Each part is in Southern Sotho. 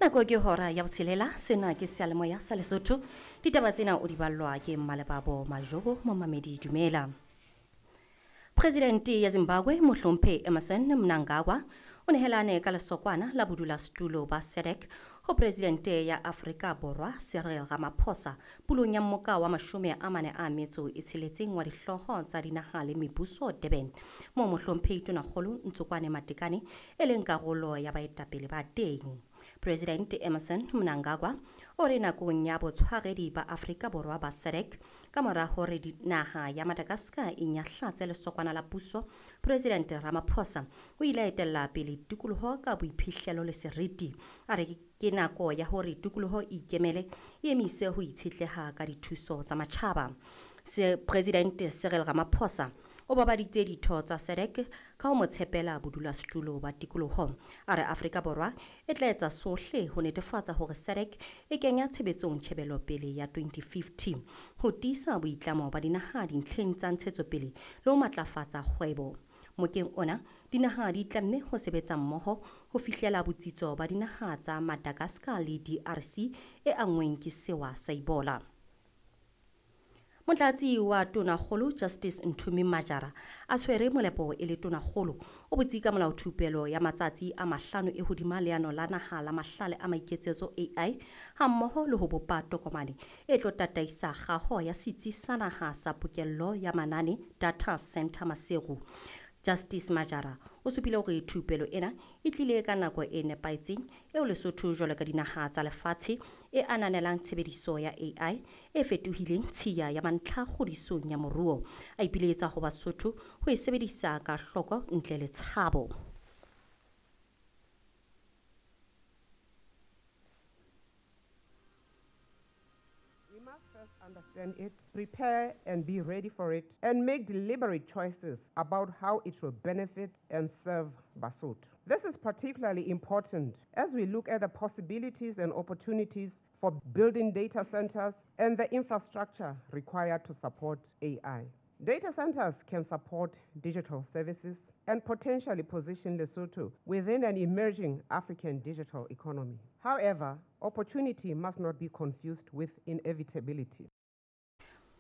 Nako ke hora ya botshelela. Sena ke seyalemoya sa Lesotho. Ditaba tsena o di ballwa ke Mmalebabo Majobo. Momamedi, dumela. Presidente ya Zimbabwe Mohlomphe Emmerson Mnangagwa o nehelane ka lesokwana la bodulasetulo ba SADC ho Presidente ya Afrika Borwa Cyril Ramaphosa pulong ya mmoka wa 46 wa dihlooho tsa dinaha le mebuso Durban, moo Mohlomphehi Tonakgolo Ntsokwane Matekane e leng karolo ya baetapele ba teng. President Emmerson Mnangagwa o re nakong ya botshwaredi ba Afrika Borwa ba SADC, ka mora hore naha ya Madagascar e nyahlatse lesokwana la puso, President Ramaphosa o ile a etella pele tikoloho ka boiphihlelo le seriti. A re ke nako ya hore tikoloho e ikemele, e emise ho itshetleha ka dithuso tsa matjhaba. President Cyril Ramaphosa o babaditse ditho tsa SADC ka ho mo tshepela bodulasetulo ba tikoloho. A re Afrika Borwa e tla etsa sohle ho netefatsa hore SADC e kenya tshebetsong tjhebelopele ya 2050 ho tiisa boitlamo ba dinaha dintlheng tsa ntshetsopele le ho matlafatsa kgwebo. Mokeng ona, dinaha di tlamme ho sebetsa mmoho ho fihlela botsitso ba dinaha tsa Madagascar le DRC e anngweng ke sewa sa Ebola. Motlatsi wa Tonakgolo Justice Nthumi Majara a tshwere molepo e le Tonakgolo o botse ka molaothupelo ya matsatsi a 5 e hodima leano la naha la mahlale a maiketsetso AI hammoho le ho bopa tokomane e tlo tataisa kgaho ya setsi sa naha sa pokello ya manane Data Center Maseru. Justice Majara o supile hore thupelo ena e tlile ka nako e nepahetseng eo Lesotho jwalo ka dinaha tsa lefatshe e ananelang tshebediso ya AI e fetohileng tshiya ya mantlha kgodisong ya moruo. A ipiletsa ho Basotho ho e sebedisa ka hloko ntle le tshabo. We must first understand it, prepare and be ready for it, and make deliberate choices about how it will benefit and serve Basotho. This is particularly important as we look at the possibilities and opportunities for building data centers and the infrastructure required to support AI. Data centers can support digital services and potentially position Lesotho within an emerging African digital economy. However, opportunity must not be confused with inevitability.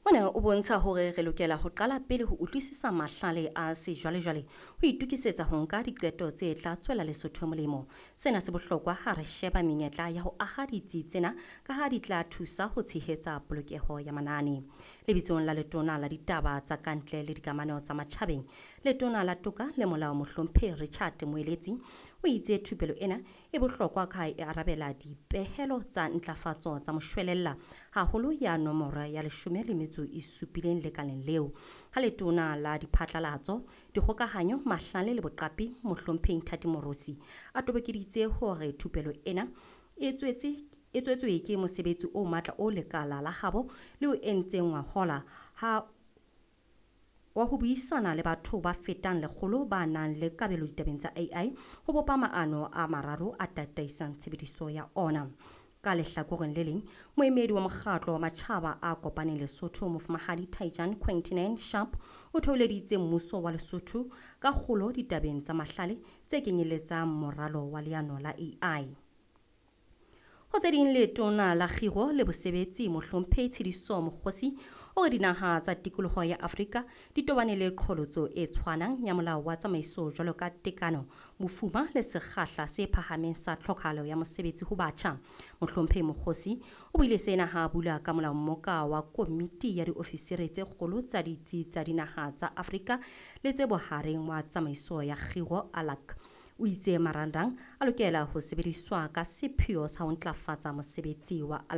Ona o bontsha hore re lokela ho qala pele ho utlwisisa mahlale a sejwalejwale ho itokisetsa ho nka diqeto tse tla tswela Lesotho molemo. Sena se bohlokwa ha re sheba menyetla ya ho aha ditsi tsena ka ha di tla thusa ho tshehetsa polokeho ya manane. Lebitsong la Letona la Ditaba tsa Kantle le Dikamano tsa Matjhabeng, Letona la Toka le Molao Mohlomphehi Richard Moeletsi o itse thupelo ena e bohlokwa ka ha e arabela dipehelo tsa ntlafatso tsa moshwelella haholo ya nomoro ya 17 lekaleng leo. Ha Letona la Diphatlalatso, Dikgokahanyo, Mahlale le Boqapi Mohlomphehi Nthati Morosi a tobokeditse hore thupelo ena e tswetswe ke mosebetsi o matla o lekala la habo le o entseng ngwahola ha wa ho buisana le batho ba fetang 100 ba nang le kabelo ditabeng tsa AI ho bopa maano a mararo a tataisang tshebediso ya ona. Ka lehlakoreng le leng, moemedi wa mokgatlo wa matjhaba a kopaneng Lesotho Mofumahadi Taijan Quintinan Sharp o theoleditse mmuso wa Lesotho ka kgolo ditabeng tsa mahlale tse kenyeletsang moralo wa leano la AI. Ho tse ding, Letona la Kgiro le Bosebetsi Mohlomphehi Tshediso Mokgosi o re dinaha tsa tikoloho ya Afrika di tobane le qholotso e tshwanang ya molao wa tsamaiso jwalo ka tekano, bofuma le sekgahla se phahameng sa tlhokahalo ya mosebetsi ho batjha. Mohlomphehi Mokgosi o buile sena ha a bula ka molao mmoka wa komiti ya diofisiri tse kgolo tsa ditsi tsa dinaha tsa Afrika le tse bohareng wa tsamaiso ya kgiro ALAC. O itse marangrang a lokela ho sebediswa ka sepheo sa ho ntlafatsa mosebetsi wa